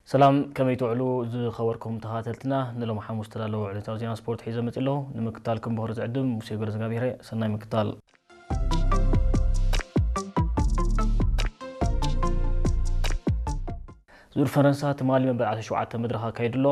ሰላም፣ ከመይ ትውዕሉ ዝኸበርኩም ተኸታተልትና? ንሎም ሓሙስ ተዳለዉ ዕለታዊ ዜና ስፖርት ሒዘ መጽእ ኣለኹ። ንምክታልኩም ብኽሪ ዝዕድም ሙሴ ገረዝጋብሄረ። ሰናይ ምክታል። ዙር ፈረንሳ ትማሊ መበል ዓሰርተ ሸውዓተ መድረኽ ኣካይዱ ኣሎ።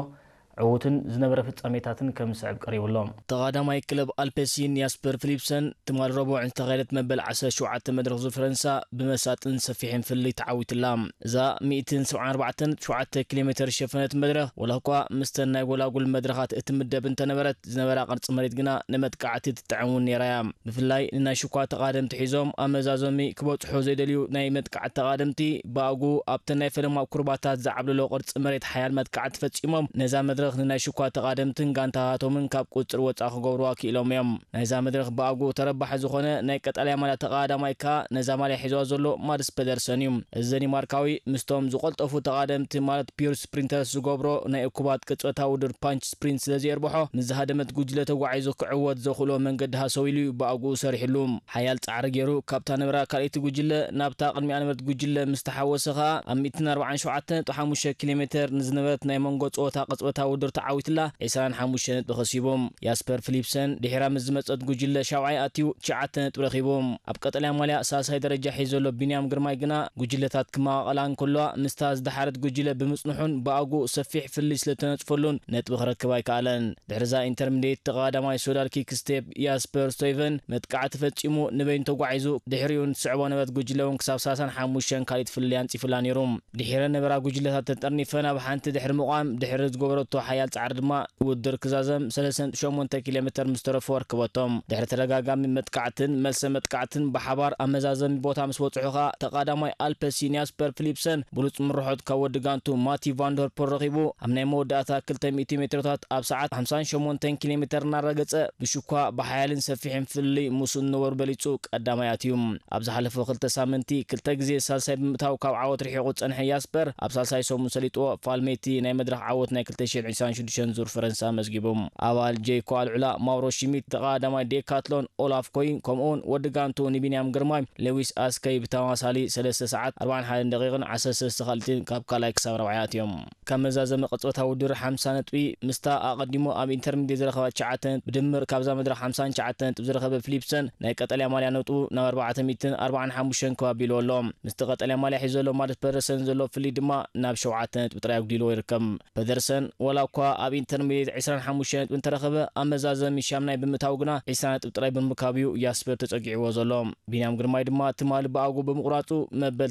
ዕዉትን ዝነበረ ፍጻሜታትን ከም ዝስዕብ ቀሪቡ ኣሎ። ተቐዳማይ ክለብ ኣልፔሲን ያስፐር ፊሊፕሰን ትማሊ ረቡዕ ዝተኻየደት መበል ዓሰርተ ሸውዓተ መድረኽ ዙር ፈረንሳ ብመሳጥን ሰፊሕን ፍልልይ ተዓዊትላ። እዛ ሚእትን ሰብዓን ኣርባዕተን ሸውዓተ ኪሎ ሜተር ዝሸፈነት መድረኽ፣ ወላ እኳ ምስተን ናይ ጎላጉል መድረኻት እትምደብ እንተነበረት፣ ዝነበራ ቅርጺ መሬት ግና ንመጥቃዕቲ ትጥዕም እውን ነይራ እያ። ብፍላይ ንናይ ሽኳ ተቓደምቲ ሒዞም ኣመዛዘሚ ክበጽሑ ዘይደልዩ ናይ መጥቃዕቲ ተቓደምቲ፣ ብኣጉ ኣብተን ናይ ፈለማ ኩርባታት ዝዓብለሎ ቅርጺ መሬት ሓያል መጥቃዕቲ ፈጺሞም፣ ነዛ መድረኽ ንናይ ሽኳ ተቓደምትን ጋንታታቶምን ካብ ቁጽሪ ወጻኢ ክገብርዋ ክኢሎም እዮም። ናይዛ መድረኽ ብኣጉ ተረባሒ ዝኾነ ናይ ቀጠልያ ማልያ ተቓዳማይ ከኣ ነዛ ማልያ ሒዝዋ ዘሎ ማድስ ፔደርሰን እዩ። እዚ ደኒማርካዊ ምስቶም ዝቐልጠፉ ተቓደምቲ ማለት ፒውር ስፕሪንተርስ ዝገብሮ ናይ እኩባት ቅጽበታዊ ውድድር ፓንች ስፕሪንት ስለ ዘየርብሖ፣ ምስ ዝሃደመት ጉጅለ ተጓዒዙ ክዕወት ዘኽእሎ መንገዲ ሃሰው ኢሉ እዩ ብኣግኡ ሰሪሕሉ። ሓያል ጻዕሪ ገይሩ ካብታ ነበራ ካልኣይቲ ጉጅለ ናብታ ቅድሚኣ ነበረት ጉጅለ ምስ ተሓወሰ ከኣ፣ ኣብ ሚእትን ኣርባዓን ሸውዓተን ነጥቢ ሓሙሽተ ኪሎ ሜተር ንዝነበረት ናይ መንጎ ጸወታ ቅጽበታዊ ውድድር ተዓዊትላ ዒስራን ሓሙሽተን ነጥቢ ከሲቡ። ያስፐር ፊሊፕሰን ድሒራ ምስ ዝመጸት ጉጅለ ሻብዓይ ኣትዩ ትሽዓተ ነጥቢ ረኺቡ። ኣብ ቀጠልያ ማልያ ሳልሳይ ደረጃ ሒዙ ዘሎ ቢንያም ግርማይ ግና ጉጅለታት ክመቓቐላ እንከለዋ ምስታ ዝደሓረት ጉጅለ ብምጽንሑን ብኣግኡ ሰፊሕ ፍልልይ ስለ ተነጽፈሉን ነጥቢ ክረክብ ኣይከኣለን። ድሕሪዛ ኢንተርሚዲየት ተቐዳማይ ሶዳል ኪክ ስቴፕ ያስፐር ስቶይቨን መጥቃዕቲ ፈጺሙ ንበይኑ ተጓዒዙ፣ ድሕሪኡ ንትስዕቦ ነበረት ጉጅለ እውን ክሳብ ሰላሳን ሓሙሽተን ካልኢት ፍልልይ ኣንጺፉላ ነይሩ። ድሒረን ነበራ ጉጅለታት ተጠርኒፈን ኣብ ሓንቲ ድሕሪ ምቋም፣ ድሕሪ ዝገበረቶ ሓያል ጻዕሪ ድማ ውድድር ክዛዘም ሰለስተ ነጥቢ ሸሞንተ ኪሎ ሜተር ምስ ተረፎ ኣርክበቶም። ድሕሪ ተደጋጋሚ መጥቃዕትን መልሰ መጥቃዕትን ብሓባር ኣብ መዛዘሚ ቦታ ምስ በጽሑ ከኣ ተቐዳማይ ኣልፐሲን ያስፐር ፊሊፕሰን ብሉጽ ምርሖት ካብ ወዲ ጋንቱ ማቲ ቫንደርፖል ረኺቡ ኣብ ናይ መወዳእታ ክልተ ሚእቲ ሜትሮታት ኣብ ሰዓት ሓምሳን ሸሞንተን ኪሎ ሜተር እናረገጸ ብሽኳ ብሓያልን ሰፊሕን ፍልልይ ምስኡ ዝነበሩ በሊጹ ቀዳማይ ኣትዩ። ኣብ ዝሓለፈ ክልተ ሳምንቲ ክልተ ግዜ ሳልሳይ ብምእታው ካብ ዓወት ርሒቑ ዝጸንሐ ያስፐር ኣብ ሳልሳይ ሰሙን ሰሊጥዎ ፋልሜቲ ናይ መድረኽ ዓወት ናይ ክልተ ሽሕን ዕስራን ሽዱሽተን ዙር ፈረንሳ ኣመዝጊቡ። ኣባል ጄይኮ ኣልዑላ፣ ማውሮ ሽሚት፣ ተቐዳዳማይ ዴካትሎን ኦላፍ ኮይን፣ ከምኡውን ወዲ ጋንቱ ንቢንያም ግርማይ ሌዊስ ኣስከይ ብተመሳሳሊ ሰለስተ ሰዓት ኣርባዓን ሓደን ደቂቕን ዓሰርተ ሰለስተ ካልኢትን ካብ ካልኣይ ክሳብ ራብዓይ ኣትዮም። ካብ መዛዘሚ ቅጽበታዊ ውድድር ሓምሳ ነጥቢ ምስታ ኣቐዲሙ ኣብ ኢንተርሚዲየት ዝረኸባ ትሽዓተ ነጥቢ ብድምር ካብዛ መድረኽ ሓምሳን ትሽዓተ ነጥቢ ዝረኸበ ፊሊፕሰን ናይ ቀጠልያ ማልያ ነጥቡ ናብ ኣርባዕተ ሚእትን ኣርባዓን ሓሙሽተን ከባቢ ኢሉ ኣሎ። ምስቲ ቀጠልያ ማልያ ሒዙ ዘሎ ማድስ ፐደርሰን ዘሎ ፍልልይ ድማ ናብ ሸውዓተ ነጥቢ ጥራይ ኣጉዲልዎ ይርከብ። ፐደርሰን ወላ እኳ ኣብ ኢንተርሚዲየት ዕስራን ሓሙሽተን ነጥቢ እንተረኸበ፣ ኣብ መዛዘሚ ሻምናይ ብምእታው ግና ዕስራ ነጥቢ ጥራይ ብምርካብ እዩ ያስፐር ተጸጊዕዎ ዘሎ። ቢንያም ግርማይ ድማ ትማሊ ብኣጉ ብምቑራጹ መበል